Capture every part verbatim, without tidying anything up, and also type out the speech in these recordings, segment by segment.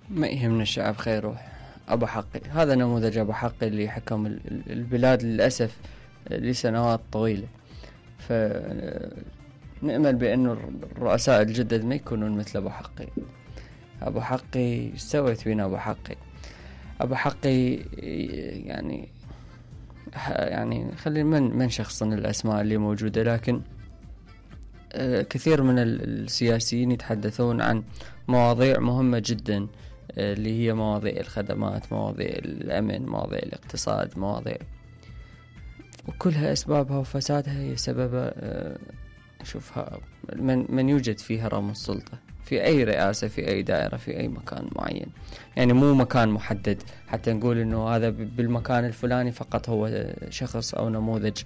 ما يهمنا الشعب خيروح. أبو حقي هذا نموذج أبو حقي اللي حكم البلاد للأسف لسنوات طويلة. فنأمل بأنه الرؤساء الجدد ما يكونون مثل أبو حقي. أبو حقي سويت بينا أبو حقي. أبو حقي يعني يعني خلي من من شخصن الأسماء اللي موجودة، لكن كثير من السياسيين يتحدثون عن مواضيع مهمة جدا، اللي هي مواضيع الخدمات، مواضيع الأمن، مواضيع الاقتصاد، مواضيع وكلها أسبابها وفسادها هي سبب شوفها من من يوجد فيها هرم السلطة في أي رئاسة، في أي دائرة، في أي مكان معين. يعني مو مكان محدد حتى نقول إنه هذا بالمكان الفلاني فقط هو شخص أو نموذج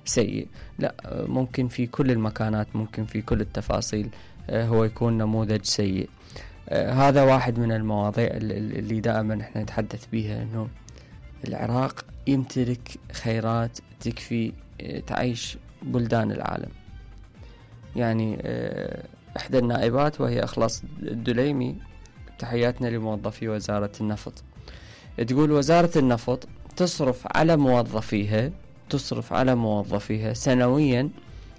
سيء، لا، ممكن في كل المكانات، ممكن في كل التفاصيل هو يكون نموذج سيء. هذا واحد من المواضيع اللي دائما احنا نتحدث بيها، إنه العراق يمتلك خيرات تكفي تعيش بلدان العالم. يعني إحدى النائبات وهي إخلاص الدليمي، تحياتنا لموظفي وزارة النفط، تقول وزارة النفط تصرف على موظفيها تصرف على موظفيها سنويا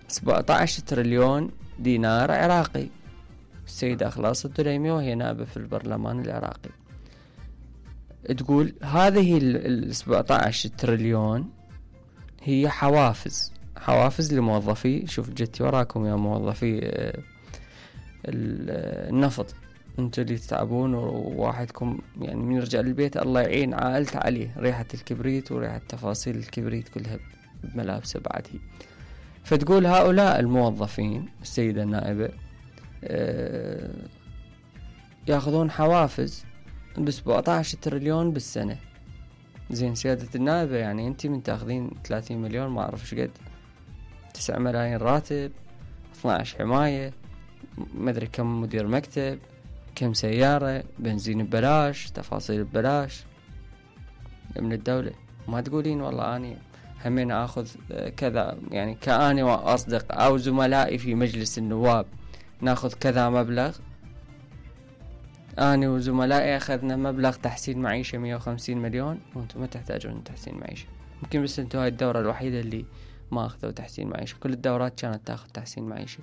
سبعة عشر تريليون دينار عراقي. السيدة إخلاص الدليمي وهي نائبة في البرلمان العراقي تقول هذه ال سبعة عشر تريليون هي حوافز حوافز لموظفي. شوف جيتي وراكم يا موظفي النفط، انتوا اللي تتعبون وواحدكم يعني من يرجع للبيت الله يعين عائلته عليه، ريحة الكبريت وريحة تفاصيل الكبريت كلها بملابسه بعد هي. فتقول هؤلاء الموظفين السيدة النائبة ياخذون حوافز بسبعة عشر تريليون بالسنة. زين سيادة النائبة، يعني انت من تاخذين ثلاثين مليون ما اعرف شقد، تسعة ملايين راتب، اثنى عشر حماية، ما ادري كم مدير مكتب، كم سيارة، بنزين ببلاش، تفاصيل ببلاش من الدولة. ما تقولين والله اني همين اخذ كذا، يعني كأني واصدق او زملائي في مجلس النواب ناخذ كذا مبلغ، أنا وزملائي أخذنا مبلغ تحسين معيشة مية وخمسين مليون وأنتم ما تحتاجون تحسين معيشة. ممكن بس أنتوا هاي الدورة الوحيدة اللي ما أخذوا تحسين معيشة، كل الدورات كانت تأخذ تحسين معيشة.